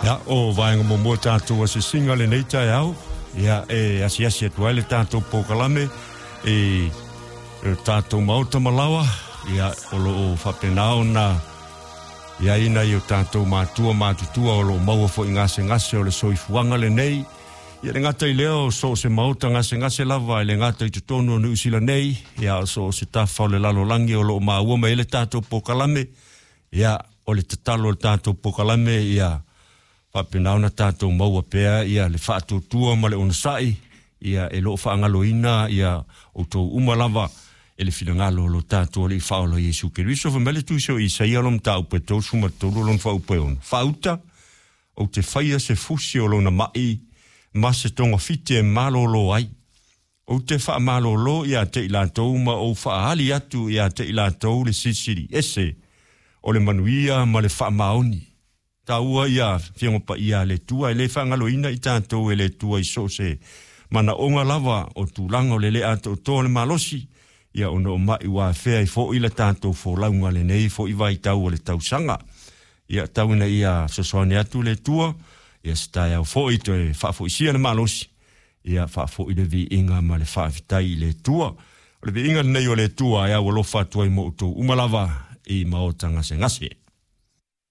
Ia, o vaega muamua tatou asiasiga lenei taeao, ia e asiasi atu ai le tatou polokalame i le tatou maota malaoa, ia o lo o faapena ona i ai nai o tatou matua matutua o lo o maua foi gasegase o le soifuaga lenei. Ia le gata i lea o so o se maota gasegase lava e le gata i totonu o Niu Sila nei, ia o so o se tafa o le lalolagi o lo o maua mai ai le tatou polokalame. Ia, o le tatalo o le tatou polokalame ia faapena ona tatou maua pea ia le faatuatua ma le onosai, ia e lo o faagaloina ia outou uma lava e le finagalo o lo tatou Alii Faaola Iesu Keriso. Fai mai le Tusi o Isaia lo mataupu e 33 lona fuaiupu e 6, Faauta, ou te faia se fusi o lona mai ma se togafiti e malolo ai. Ou te faamalolo ia te i latou ma ou faaali atu ia te i latou le silisili ese o le manuia ma le faamaoni. Taua ia Afioga Paia a le Atua, e le faagaloina i tatou e le Atua i so o se manaoga lava o tulaga o le le atoatoa o le malosi, ia ona o mai ua afea ai foi le tatou folauga lenei foi vaitau o le tausaga. Ia tau ina ia fesoasoani atu le Atua, ia se taeao foi toe faafoisia le malosi, ia faafoi le viiga ma le faafetai i le Atua. O le viiga lenei o le Atua e aualofa atu ai mo outou uma lava i maota gasegase.